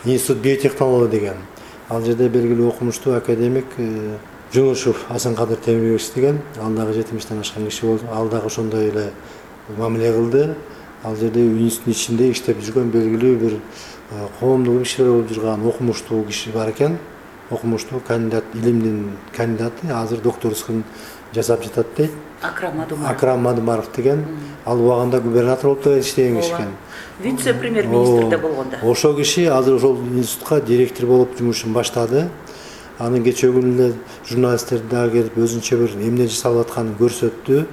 институт биотехнология деген, ал жерде белгилүү окумуштуу академик Жунушев Асанкадыр Темирбекович деген, ал дагы жетимиштен ашкан киши болду. Ал дагы ошондой эле мамиле кылды. Ал жерде институттун ичинде иштеп жүргөн белгилүү бир коомдук ишчилер болуп жүргөн окумуштуу киши бар экен. Окумуштуу кандидат, илимдин кандидаты, азыр докторскын жасап жатат дейт. Акрам Мадумаров. Акрам Мадумаров деген ал убагында губернатор болуп да иштеген киши экен. Вице-премьер-министрде болгондо. Ошол киши азыр ошол институтка директор болуп жумушун баштады. Анын кечээ күнү эле журналисттер дагы келип өзүнчө бир эмне жасалып атканын көрсөттү.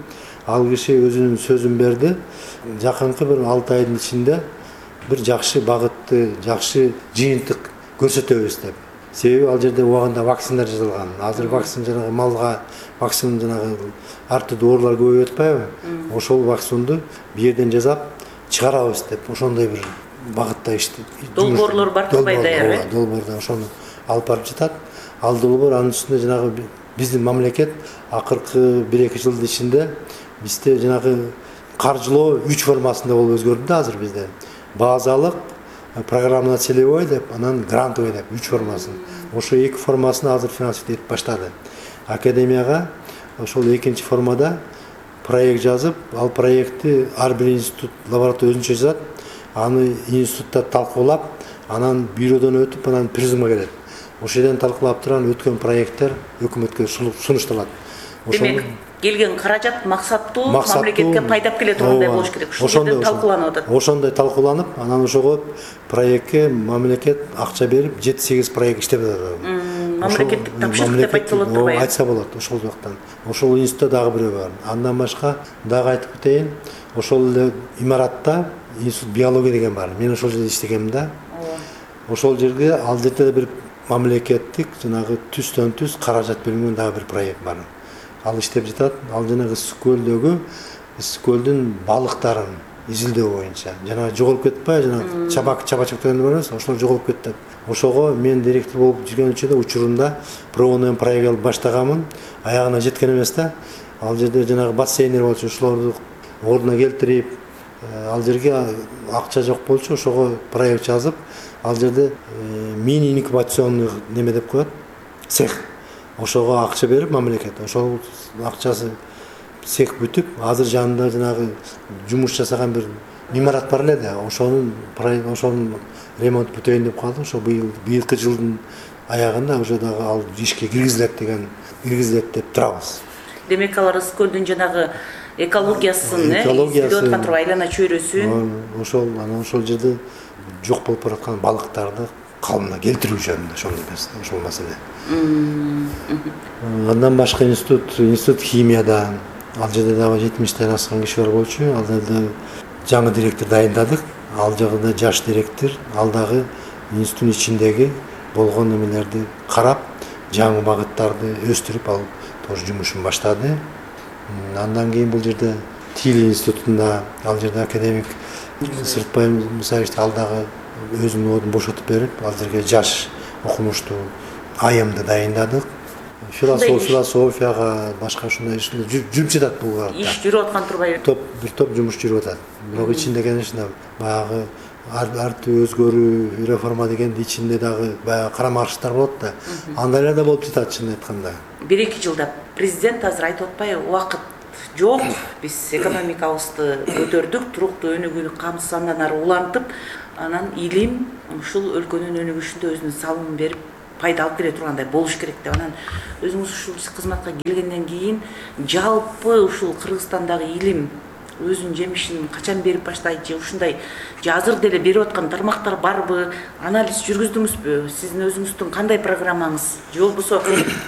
Ал киши өзүнүн сөзүн берди. Жакынкы бир алты айдын ичинде бир жакшы багытты, жакшы жыйынтык көрсөтөбүз деп. Себеби ал жерде убагында вакциналар жасалган. Азыр вакцина жанагы малга вакцина жанагы ар түрдүү оорулар көбөйүп атпайбы? Ошол вакцинду бу жерден жасап чыгарабыз деп ошондой бир багытта иштеп. Долбоорлор бар турбай даярбы? Долбоорда ошону алып барып жатат. Ал долбоор анын үстүндө жанагы биздин мамлекет акыркы бир эки жылдын ичинде бизде жанагы каржылоо үч формасында болуп өзгөрдү да азыр бизде. Базалык, программа целевой деп, анан грантовый деп үч формасын. Ошо эки формасын азыр финансировать этип баштады. Академияга ошол экинчи формада проект жазып, ал проектти ар бир институт лаборатория өзүнчө жазат. Аны институтта талкуулап, анан бюродон өтүп, анан призмга келет. Ошол жерден талкуулап турган өткөн проекттер өкмөткө сунушталат. Демек, келген каражат максаттуу, мамлекетке пайдап келе тургандай болуш керек. Ушул жерден талкууланып атат. Ошондой талкууланып, анан ошого проектке мамлекет акча берип, жети сегиз проект иштеп атат. Мамлекеттик тапшырык деп айтса болот турбайбы? Айтса болот ошол жактан. Ошол институтта дагы бирөө бар. Андан башка дагы айтып кетейин, ошол эле имаратта институт биология деген бар. Мен ошол жерде иштегем да. Ошол жерге ал жерде бир мамлекеттик жанагы түстөн түз каражат бөлүнгөн дагы бир проект бар. Ал иштеп жатат. Ал жанагы Ысык көлдөгү Ысык көлдүн балыктарын изилдөө боюнча. Жана жоголуп кетпай, жана чабак чабачак деген бар эмес, ошол жоголуп кетти. Ошого мен директор болуп жүргөн учурда учурунда пробный проект алып баштаганмын. Аягына жеткен эмес да. Ал жерде жанагы бассейндер болчу, ошолорду ордуна келтирип, ал жерге акча жок болчу, ошого проект жазып, ал жерде мини инкубационный неме деп коет, цех. Ошого акча берип мамлекет, ошол акчасы цех бүтүп, азыр жанында жанагы жумуш жасаган бир имарат бар эле да, ошонун ошонун ремонт бүтөйүн деп калды. Ошо быйыл быйылкы жылдын аягында уже дагы ал ишке киргизилет деген, киргизилет деп турабыз. Демек, алар Ысык көлдүн жанагы экологиясын, изилдеп аткан турбай айлана чөйрөсүн. Ошол, анан ошол жерде жок болуп бараткан балыктарды калыбына келтирүү жөнүндө ошондой нерсе, ошол маселе. Андан башка институт, институт химияда, ал жерде дагы жетимиштен аскан киши бар болчу. Ал жерде жаңы директор дайындадык. Ал жагында жаш директор, ал дагы институттун ичиндеги болгон немелерди карап, жаңы багыттарды өстүрүп, ал тоже жумушун баштады. Андан кийин бул жерде Тил институтунда, ал жерде академик Сыртбай Мусаевич ал дагы өзүнүн ордун бошотуп берип, ал жерге жаш окумуштуу айымды дайындадык. Философияга, башка ушундай жүрүп жатат бул багытта. Иш жүрүп аткан турбайбы? Топ, бир топ жумуш жүрүп атат. Бирок ичинде, конечно, баягы артты өзгөрүү, реформа дегенди ичинде дагы баягы карама каршылыктар болот да. Андайлар да болуп жатат, чынын айтканда. бир эки жылда президент азыр айтып атпайбы, убакыт жок, биз экономикабызды көтөрдүк, туруктуу өнүгүүнү камсыз андан ары улантып, анан илим ушул өлкөнүн өнүгүшүндө өзүнүн салымын берип, пайда алып келе тургандай болуш керек деп. Анан өзүңүз ушул кызматка келгенден кийин жалпы ушул Кыргызстандагы илим өзүнүн жемишин качан берип баштайт же ушундай же азыр деле берип аткан тармактар барбы? Анализ жүргүздүңүзбү? Сиздин өзүңүздүн кандай программаңыз? Же болбосо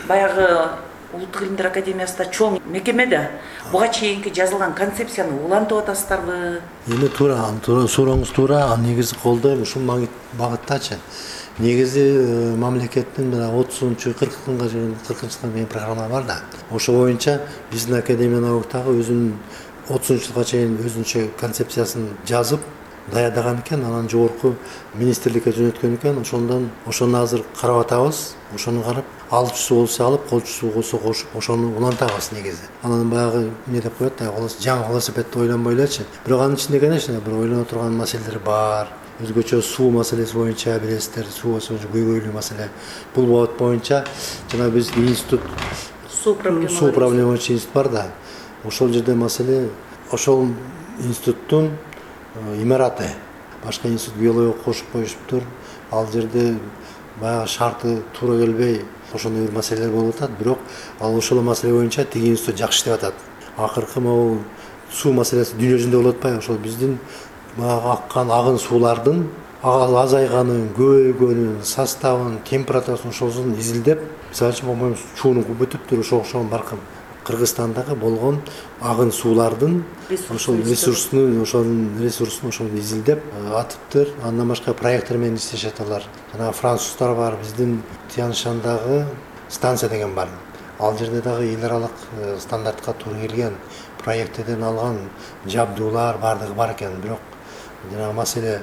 баягы Улуттук илимдер академиясында чоң мекеме да буга чейинки жазылган концепцияны улантып атасыздарбы? Эми туура, туура сурооңуз туура, негизи колдойм ушул багыттачы. Негизи мамлекеттин мына отузунчу кыркынчы жылга чейин программа бар да. Ошо боюнча биздин академия науктагы өзүнүн отузунчу жылга чейин өзүнчө концепциясын жазып даярдаган экен, анан жогорку министрликке жөнөткөн экен. Ошондон ошону азыр карап атабыз. Ошону карап, алчусу болсо алып, колчусу болсо кошуп, ошону улантабыз негизи. Анан баягы эмне деп коет да, жаңы велосипедди ойлонбой элечи. Бирок анын ичинде, конечно, бир ойлоно турган маселелер бар. Өзгөчө суу маселеси боюнча билесиздер, суу көйгөйлүү маселе. Бул багыт боюнча жана биздин институт суу проблема суу проблема боюнча институт бар да. Ошол жерде маселе ошол институттун имараты башка институт биология кошуп коюшуптур. Ал жерде баягы шарты туура келбей ошондой бир маселелер болуп атат. Бирок ал ошол маселе боюнча тиги институт жакшы иштеп атат. Акыркы могу суу маселеси дүйнө жүзүндө болуп атпайбы? Ошол биздин баягы аккан агын суулардын азайганын, көбөйгөнүн, составын, температурасын ошосын изилдеп, мисалы үчүн по-моему чуунун бүтүптүр, ошо окшогон баркын Кыргызстандагы болгон агын суулардын ошол ресурсунун, ошонун ресурсун ошол изилдеп атыптыр. Андан башка проекттер менен иштешет алар. Жана француздар бар, биздин Тяншандагы станция деген бар. Ал жерде дагы эл аралык стандартка туура келген проекттерден алган жабдуулар бардыгы бар экен. Бирок жана маселе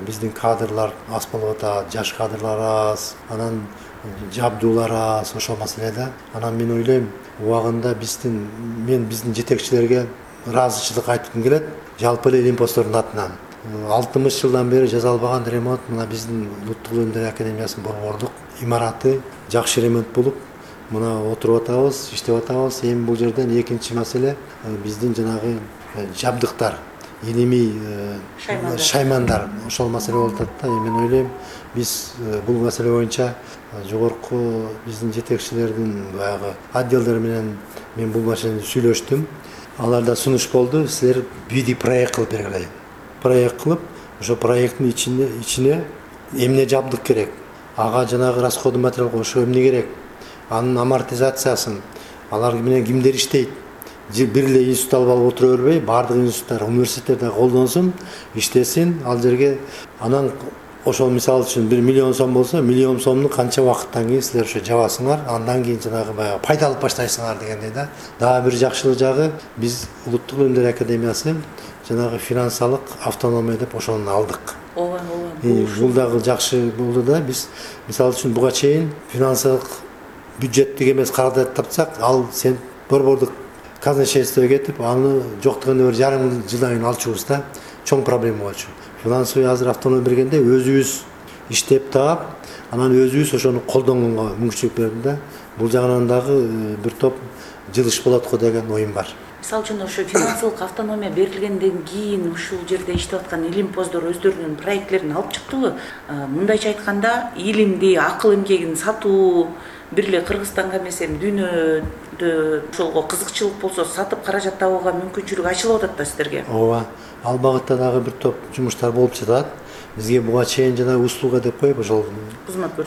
биздин кадрлар аз болуп атат, жаш кадрлар аз, анан жабдуулар аз, ошол маселеде. Анан мен ойлойм, убагында биздин мен биздин жетекчилерге ыраазычылык айткым келет, жалпы эле Олимпостордун атынан. алтымыш жылдан бери жасалбаган ремонт мына биздин Улуттук Илимдер Академиясынын борбордук имараты жакшы ремонт болуп, мына отуруп атабыз, иштеп атабыз. Эми бул жерден экинчи маселе биздин жанагы жабдыктар, илимий шаймандар, ошол маселе болуп атат да. Мен ойлойм, биз бул маселе боюнча жогорку биздин жетекчилердин баягы отделдер менен мен бул маселени сүйлөштүм. Аларда сунуш болду, силер биди проект кылып бергиле. Проект кылып, ошо проекттин ичине ичине эмне жабдык керек, ага жанагы расходный материал ошо эмне керек, анын амортизациясын, алар менен кимдер иштейт, бир эле институт алып алып отура бербей, баардык институттар, университеттерде колдонсун, иштесин, ал жерге анан ошол мисалы үчүн бир миллион сом болсо, миллион сомду канча убакыттан кийин силер ошо жабасыңар, андан кийин жанагы баягы пайда алып баштайсыңар дегендей да. Дагы бир жакшылык жагы, биз Улуттук Илимдер Академиясы жанагы финансалык автономия деп ошону алдык. Ооба, ооба. Бул дагы жакшы болду да. Биз мисалы үчүн буга чейин финансалык бюджеттик эмес каражат тапсак, ал сен борбордук казначействого кетип, аны жок дегенде бир жарым жылдан кийин алчубуз да. Чоң проблема болчу. Финансовый азыр автономия бергенде өзүбүз иштеп таап, анан өзүбүз ошону колдонгонго мүмкүнчүлүк берди да. Бул жагынан дагы бир топ жылыш болот го деген оюм бар. Мисалы үчүн ошо финансылык автономия берилгенден кийин ушул жерде иштеп аткан илимпоздор өздөрүнүн проекттерин алып чыктыбы? Мындайча айтканда, илимди, акыл эмгегин сатуу, бир эле Кыргызстанга эмес, эми дүйнөдө ошолго кызыкчылык болсо сатып каражат табууга мүмкүнчүлүк ачылып атат да сиздерге. Ооба, ал багытта дагы бир топ жумуштар болуп жатат. Бизге буга чейин жана услуга деп коюп, ошол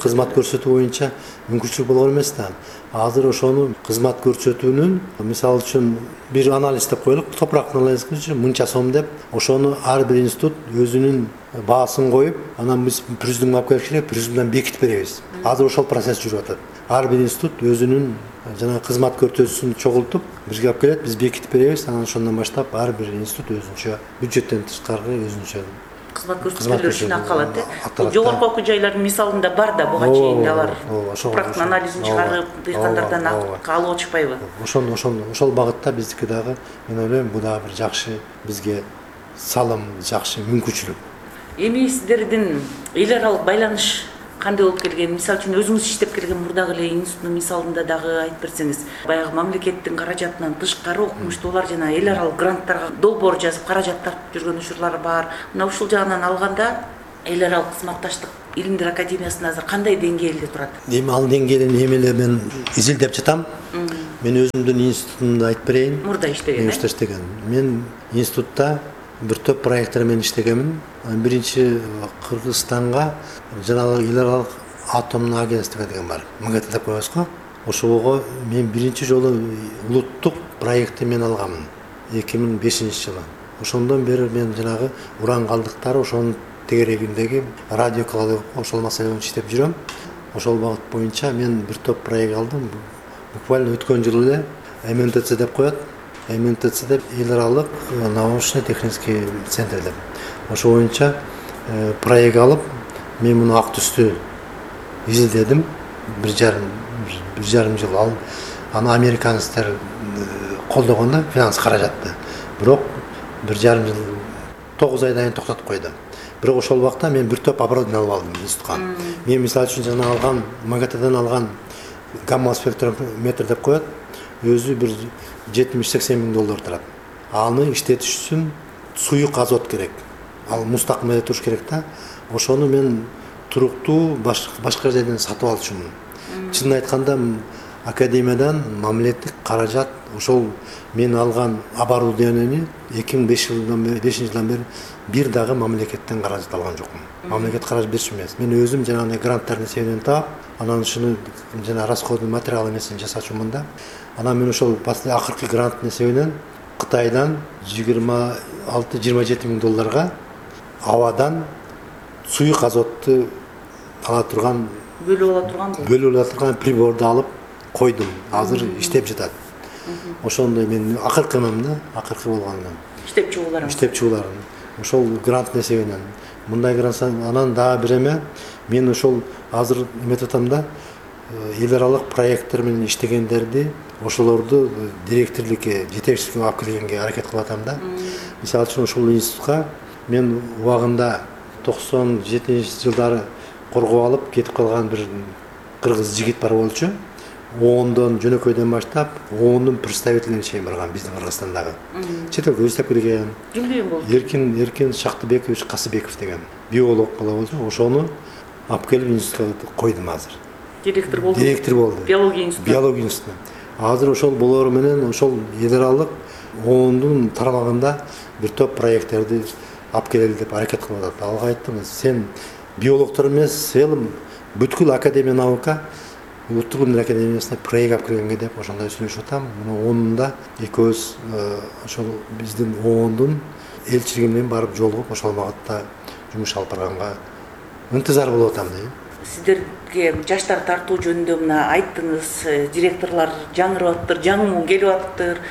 кызмат көрсөтүү боюнча мүмкүнчүлүк болгон эмес да. Азыр ошону кызмат көрсөтүүнүн, мисалы үчүн бир анализ деп коелук, топурактын анализ үчүн мынча сом деп, ошону ар бир институт өзүнүн баасын коюп, анан биз президиумга алып келип керек, президиумдан бекитип беребиз. Азыр ошол процесс жүрүп атат. Ар бир институт өзүнүн жана кызмат көрсөтүүсүн чогултуп, бизге алып келет, биз бекитип беребиз. Анан ошондон баштап ар бир институт өзүнчө бюджеттен тышкары өзүнчө кызмат көрсөтүүлөр үчүн акалат. Бул жогорку окуу жайлардын мисалында бар да, буга чейин алар топурактын анализин чыгарып, дыйкандардан акка алып отушпайбы? Ошондо ошондо ошол багытта биздики дагы, мен ойлойм, бул дагы бир жакшы бизге салым, жакшы мүмкүнчүлүк. Эми сиздердин эл аралык байланыш кандай болуп келген? Мисалы үчүн өзүңүз иштеп келген мурдагы эле институттун мисалында дагы айтып берсеңиз, баягы мамлекеттин каражатынан тышкары окумуштуулар жана эл аралык гранттарга долбоор жазып каражат тартып жүргөн учурлар бар. Мына ушул жагынан алганда эл аралык кызматташтык Илимдер Академиясында азыр кандай деңгээлде турат? Эми ал деңгээлин эмеле мен изилдеп жатам. Мен өзүмдүн институтумду айтып берейин. Мурда иштеген. Мурда иштеген. Мен институтта бир топ проекттер менен иштегенмин. Биринчи Кыргызстанга жанагы эл аралык атомдук агентство деген бар. МГТ деп коебуз го. Ошого мен биринчи жолу улуттук проектти мен алганмын. эки миң бешинчи жылы. Ошондон бери мен жанагы уран калдыктары ошонун тегерегиндеги радиокалды ошол маселе боюнча иштеп жүрөм. Ошол багыт боюнча мен бир топ проект алдым. Буквально өткөн жылы эле эм эн тэ цэ деп коет. эм эн тэ цэ деп эл аралык научно-технический центр деп. Ошол боюнча проект алып, мен муну ак түстү изилдедим. Бир жарым бир жарым жыл ал аны американецтер колдогондо финанс каражатты. Бирок бир жарым жыл тогуз айдан кийин токтотуп койду. Бирок ошол убакта мен бир топ оборудование алып алдым институтка. Мен мисалы үчүн жана алган МГТден алган гамма спектрометр деп коет. Өзү бир жетимиш сексен миң доллар турат. аны иштетиш үчүн суюк азот керек, ал мустакмелде туруш керек да. Ошону мен туруктуу башка жерден сатып алчумун. Чынын айтканда академиядан мамлекеттик каражат ошол мен алган оборудованияны эки миң бешинчи жылдан бери бир дагы мамлекеттен каражат алган жокмун. Мамлекет каражат берчү эмес. Мен өзүм жанагы гранттардын эсебинен таап, анан ушуну жана расходный материал эмесин жасачумун да. Анан мен ошол акыркы гранттын эсебинен Кытайдан жыйырма алты жыйырма жети миң долларга абадан суюк азотту ала турган бөлүп ала турган бөлүп ала турган приборду алып койдум. Азыр иштеп жатат. Ошондой мен акыркынын да, акыркы болгондон. Иштеп чыгууларым. Иштеп чыгууларым. Ошол гранттын эсебинен. Мындай грант анан дагы бир эме, мен ошол азыр эметип атам да, эл аралык проекттер менен иштегендерди, ошолорду директорлукке, жетекчиликке алып келгенге аракет кылып атам да. Мисалы үчүн ошол институтка мен убагында токсон жетинчи жылдары коргоп алып кетип калган бир кыргыз жигит бар болчу. Ондон жөнөкөйдөн баштап, ондун представителине чейин барган биздин Кыргызстандагы. Чет элге иштеп келген. Кимден болду? Эркин Эркин Шактыбекович Касыбеков деген биолог бала болчу. Ошону алып келип институтка койдум азыр. Директор болду. Директор болду. Биология институту. Биология институту. Азыр ошол болору менен ошол эл аралык ондун тармагында бир топ проекттерди алып келели деп аракет кылып атат. Алга айттым, сен биологдор эмес, сен бүткүл академия наука Улуттук илимдер академиясына проект алып келгенге деп ошондой сүйлөшүп атам. Мына онунда экөөбүз ошол биздин ондун элчилиги менен барып жолугуп ошол багытта жумуш алып барганга ынтызар болуп атам дейм. Сиздерге жаштар тартуу жөнүндө мына айттыңыз, директорлор жаңырып атыптыр, жаңы муун келип атыптыр.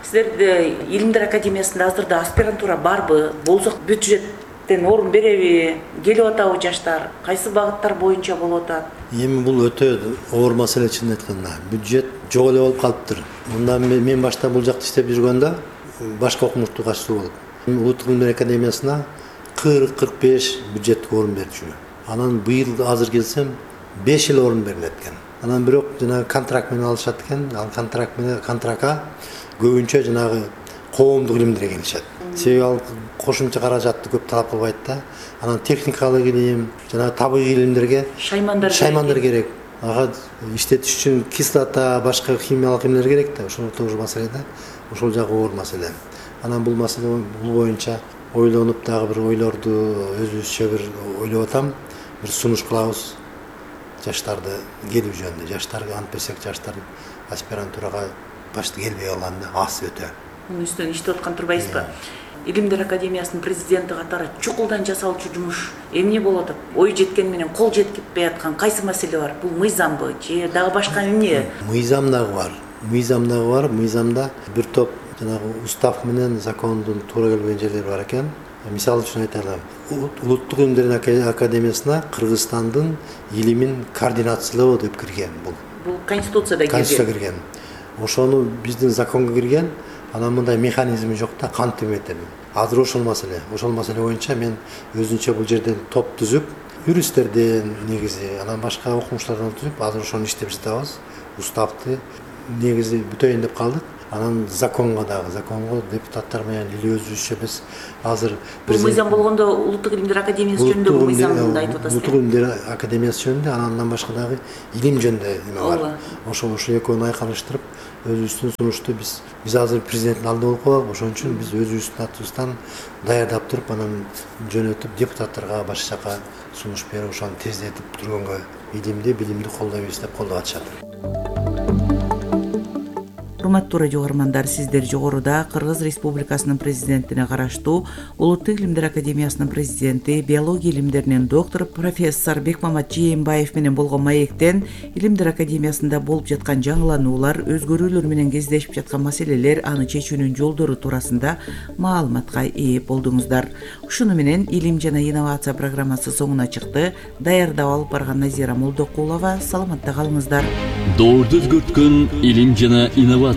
Сиздерде Илимдер академиясында азырда аспирантура барбы? Болсо бюджеттен орун береби? Келип атабы жаштар? Кайсы багыттар боюнча болуп атат? Эми бул өтө оор маселе чынын айтканда. Бюджет жок эле болуп калыптыр. Мында мен башта бул жакта иштеп жүргөндө башка окумуштуу катышуу болуп. Улуттук илимдер академиясына кырк кырк беш бюджеттик орун берчү. Анан быйыл азыр келсем беш эле орун берилет экен. Анан бирок жана контракт менен алышат экен. Ал контракт менен контрактка көбүнчө жанагы коомдук илимдер келишет. Себеби ал кошумча каражатты көп талап кылбайт да. Анан техникалык илим, жана табигый илимдерге шаймандар шаймандар керек. Ага иштетиш үчүн кислота, башка химиялык эмнелер керек да. Ошол тоже маселе да. Ошол жагы оор маселе. Анан бул маселе бул боюнча ойлонуп дагы бир ойлорду өзүбүзчө бир ойлоп атам. Бир сунуш кылабыз жаштарды келүү жөнүндө. Жаштарга ант берсек, жаштар аспирантурага башты келбей калганда аз өтө. Мунун үстүнөн иштеп аткан турбайсызбы? Илимдер академиясынын президенти катары чукулдан жасалчу жумуш эмне болуп атат? Ой жеткен менен кол жеткипей аткан кайсы маселе бар? Бул мыйзамбы же дагы башка эмне? Мыйзам дагы бар. Мыйзам дагы бар. Мыйзамда бир топ жанагы устав менен закондун туура келбеген жерлери бар экен. Мисалы үчүн айтайлы. Улуттук илимдер академиясына Кыргызстандын илимин координациялоо деп кирген бул. Бул конституцияда кирген. Конституцияда кирген. Ошону биздин законго кирген. Анан мындай механизми жок да, кантип этем. Азыр ошол маселе. Ошол маселе боюнча мен өзүнчө бул жерден топ түзүп, юристтерден негизи, анан башка окумуштардан түзүп, азыр ошону иштеп жатабыз. Уставды негизи бүтөйүн деп калдык. Анан законго дагы, законго депутаттар менен или өзүбүзчө биз азыр бул мыйзам болгондо Улуттук илимдер академиясы жөнүндө мыйзамды айтып атасыз. Улуттук илимдер академиясы жөнүндө, андан башка дагы илим жөнүндө эме бар. Ошол ошо экөөнү айкалыштырып өзүбүздүн сунушту биз биз азыр президенттин алдында болуп калдык. Ошон үчүн биз өзүбүздүн атыбыздан даярдап туруп, анан жөнөтүп депутаттарга башка жака сунуш берип, ошону тездетип тургөнгө илимди, билимди колдойбуз деп колдоп атышат. Урматтуу радио угармандар, сиздер жогоруда Кыргыз Республикасынын президентине караштуу Улуттук илимдер академиясынын президенти, биология илимдеринин доктору профессор Бекмамат Жээнбаев менен болгон маектен Илимдер академиясында болуп жаткан жаңылануулар, өзгөрүүлөр менен кездешип жаткан маселелер, аны чечүүнүн жолдору туурасында маалыматка ээ болдуңуздар. Ушуну менен Илим жана инновация программасы соңуна чыкты. Даярдап алып барган Назира Молдокулова. Саламатта калыңыздар. Доорду өзгөрткөн илим жана инновация.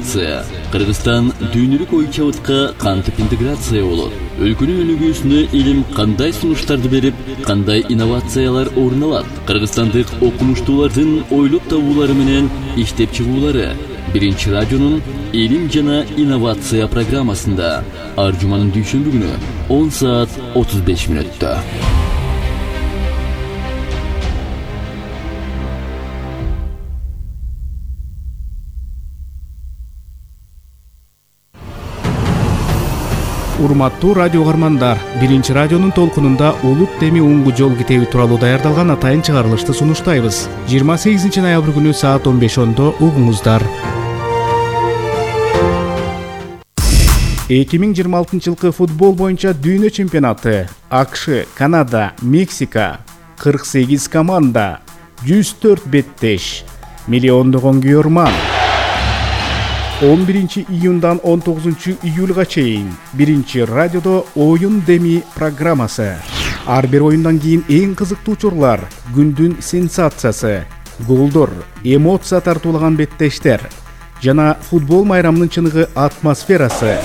Кыргызстан дүйнөлүк ой чабытка кантип интеграция болот? Өлкөнүн өнүгүүсүнө илим кандай сунуштарды берип, кандай инновациялар орун алат? Кыргызстандык окумуштуулардын ойлоп табуулары менен иштеп чыгуулары Биринчи радионун Илим жана инновация программасында ар жуманын дүйшөмбү күнү он саат отуз беш мүнөттө. Урматтуу радио каармандар, биринчи радионун толкунунда улут деми уңгу жол китеби тууралуу даярдалган атайын чыгарылышты сунуштайбыз. жыйырма сегизинчи ноябрь күнү саат он беш ондо угуңуздар. эки миң жыйырма алтынчы жылкы футбол боюнча дүйнө чемпионаты. АКШ, Канада, Мексика, кырк сегиз команда, жүз төрт беттеш, миллиондогон күйөрман. он биринчи июндан он тогузунчу июлга чейин биринчи радиодо оюн деми программасы. Ар бир оюндан кийин эң кызыктуу учурлар, күндүн сенсациясы, голдор, эмоция тартуулаган беттештер жана футбол майрамынын чыныгы атмосферасы.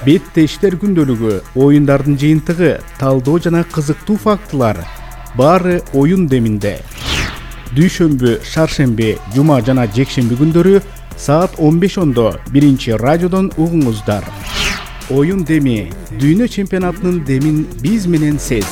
Беттештер күндөлүгү, оюндардын жыйынтыгы, талдоо жана кызыктуу фактылар баары оюн деминде. Дүйшөмбү, шаршемби, жума жана жекшемби күндөрү саат он беш ондо биринчи радиодон угуңуздар. Оюн деми, дүйнө чемпионатынын демин биз менен сез.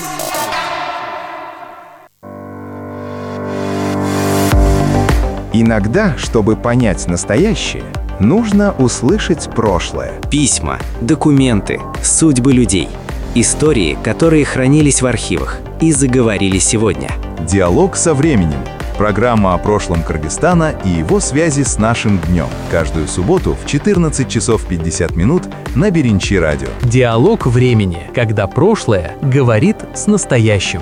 Иногда, чтобы понять настоящее, нужно услышать прошлое. Письма, документы, судьбы людей, истории, которые хранились в архивах и заговорили сегодня. Диалог со временем. Программа о прошлом Кыргызстана и его связи с нашим днем. Каждую субботу в четырнадцать часов пятьдесят минут на Биринчи радио. Диалог времени, когда прошлое говорит с настоящим.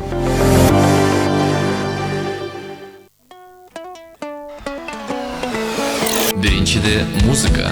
Биринчиде музыка,